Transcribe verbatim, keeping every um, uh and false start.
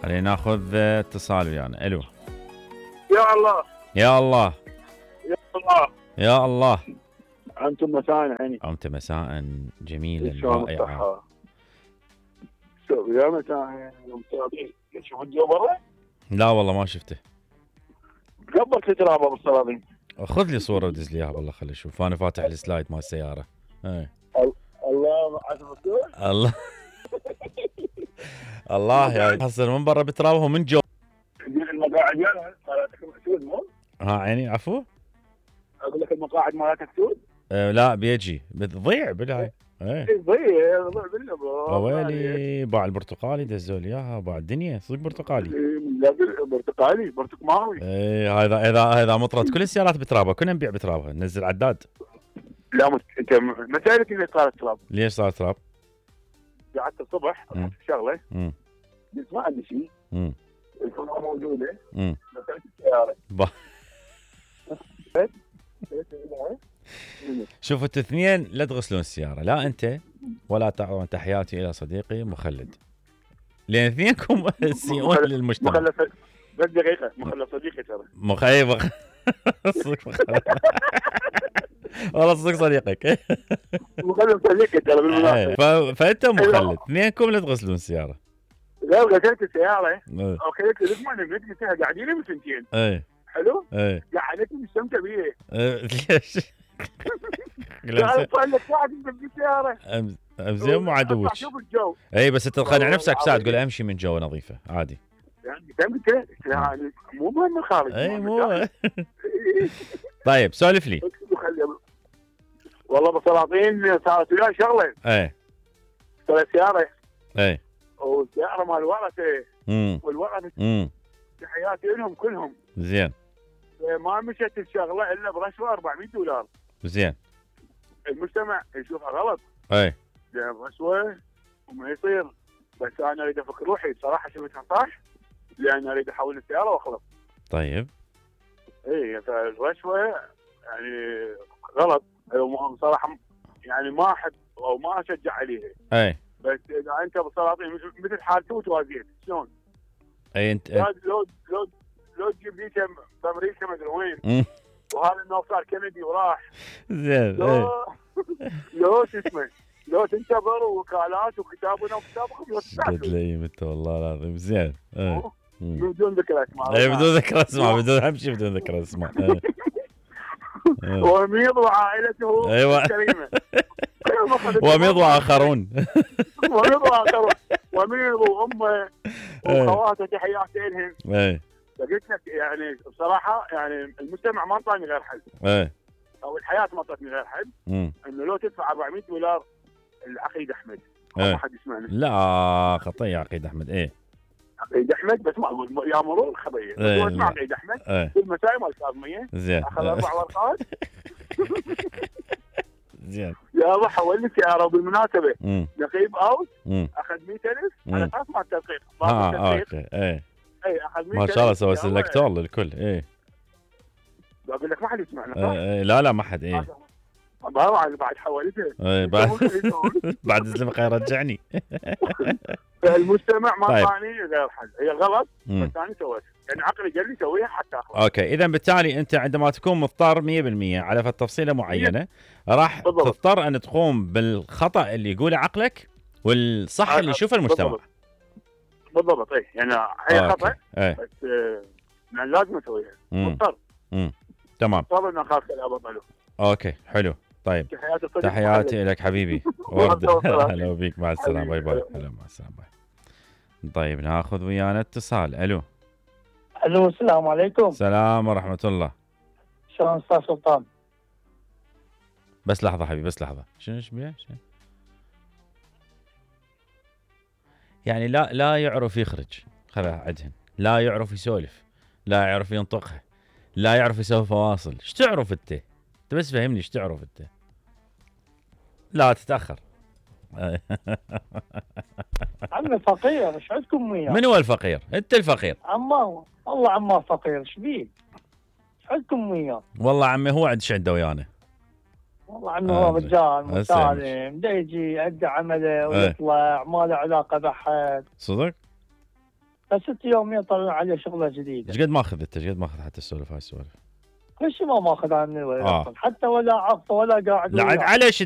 خلينا ناخذ اتصال ويانا. الو. يا الله يا الله يا الله يا الله. انتم مساء عيني. انت مساء جميلا شلون رائعا. الصحة؟ شو يا مساء يوم الصلاطين تشوف الجو برا؟ لا والله ما شفته. قبل تترابى بالصلاطين. خذ لي صوره ودز لي اياها والله خلي اشوف. انا فاتح السلايد مال السياره. اي الله عزم الدول. الله الله يا حصل من برا بتراوه من جو. المقاعد مالها مالتك سود مو؟ ها عيني عفو. اقول لك المقاعد مالتك سود؟ أه لا بيجي بتضيع بالهاي. ايه ضيع ضيع بالله. ويلي باع البرتقالي دزوا لي اياها. باع الدنيا صدق برتقالي. لا برتقالي برتقماوي. ايه هذا اذا اذا مطرت كل السيارات بترابها. كنا نبيع بترابها ننزل عداد. لا مت... انت ما سالت ليش صارت تراب؟ ليش صار تراب؟ قعدت الصبح اضحك شغله امم قلت ما عندي شيء. امم الفرن موجوده. امم دخلت السياره. شوفوا انتوا اثنين لا تغسلون السياره، لا انت ولا تعطون تحياتي الى صديقي مخلد، لان اثنينكم تسيئون للمجتمع. مخلص بس دقيقه مخلص صديقي ترى. مخيب صدق والله صدق صديقك. مخلص صديقي ترى بالمناسبه. فانت مخلد اثنينكم لا تغسلون السياره. لا غسلت السياره اوكي لك ما نمت فيها قاعدين من سنتين. اي حلو؟ اي قعدت مستمتع بيه. ليش؟ لا صار لك ساعه انت بالسياره. زين مو عدوك. شوف الجو. اي بس تقنع نفسك ساعه تقول امشي من جو نظيفه عادي. يعني فهمت يعني مو مهم الخارج. اي مو. طيب سولف لي. والله بالسلاطين صارت وياي شغله. اي اشتريت سياره. اي والسياره مال ورثه. امم والورثه امم تحياتي لهم كلهم. زين. ما مشت الشغله الا برشوه أربعمية دولار. زين. المجتمع يشوفها غلط. اي لان رشوه وما يصير. بس انا اريد افك روحي صراحه شفتها صح. لان اريد احول السياره واخلص. طيب. اي فالرشوه يعني غلط بصراحه. يعني ما احب او ما اشجع عليها. اي بس اذا انت بالسلاطين مثل حال توت وازيد شلون؟ اي انت لو لو لو لو تجيب لي بامريكا ما ادري وين. وهذا انه صار كندي وراح. زين. لو لو شو اسمه لو تنتظر وكالات وكتابنا وكتابكم قد لي انت والله العظيم. زين. بدون ذكر اسماء. اي بدون ذكر اسماء بدون اهم شيء بدون ذكر اسماء. وميض وعائلته ايوه الكريمه. وميض واخرون. وميض واخرون وميض وامه واخواته تحياتي لهم. اي فقلت لك يعني بصراحه يعني المجتمع ما انطاني غير حل. اي او الحياه ما اعطتني غير حل. انه لو تدفع أربعمية دولار العقيد احمد. ما حد يسمعني. لا خطيه عقيد احمد. ايه عقيد احمد بس ما اقول يا مرور خطيه. ايه اسمع عقيد احمد. ايه في المسائل مال كاظميه. زين. اخذ اربع ورقات. زين. يا حول لي سياره. وبالمناسبه امم نقيب اوت امم اخذ مئة ألف على اساس مال التدقيق. اه اوكي. ايه اي اخذ مئة ألف. ما شاء الله سوى سلكتور للكل. ايه بقول لك ما حد يسمعنا صح؟ ايه لا لا ما حد. ايه بعد بعد حولته. ايه بعد بعد الزلمه يرجعني. المجتمع ما طيب. طاني غير حل. هي غلط بس انا سويتها. يعني عقلي قال لي سويها حتى اخلص. اوكي اذا بالتالي انت عندما تكون مضطر مية بالمية على فد تفصيله معينه راح تضطر ان تقوم بالخطا اللي يقوله عقلك والصح اللي يشوفه المجتمع. بالضبط. اي يعني هي خطا ايه. بس آه لازم اسويها. مضطر. امم تمام. مضطر ان اخاف كلام ابطله. اوكي حلو. طيب تحياتي تحياتي لك حبيبي. ورد. هلا بيك مع السلامه. باي باي. هلا مع السلامه. باي. طيب ناخذ ويانا اتصال. الو. الو السلام عليكم. السلام ورحمه الله. شلون استاذ سلطان؟ بس لحظه حبيبي بس لحظه. شنو ايش بيه؟ يعني لا لا يعرف يخرج. خذها عدهن. لا يعرف يسولف. لا يعرف ينطقها. لا يعرف يسوي فواصل. ايش تعرف انت؟ انت بس فهمني ايش تعرف انت. لا تتاخر. عمي فقير ايش عندكم وياه؟ من هو الفقير؟ انت الفقير. عماه والله عماه فقير ايش بيه؟ ايش عندكم وياه؟ والله عمي هو عندش عنده ويانا. والله عمي هو آه، رجال هسه مسالم، دا يجي يأدي عمله ويطلع ما له علاقه بحد، صدق؟ بس ست يوم يطلع عليه شغله جديده. ايش قد ماخذ انت؟ ايش قد ماخذ حتى السولف هاي السوالف؟ كل شيء ما ماخذ عني آه. حتى ولا عقطه ولا قاعد لا عاد وياه. على ايش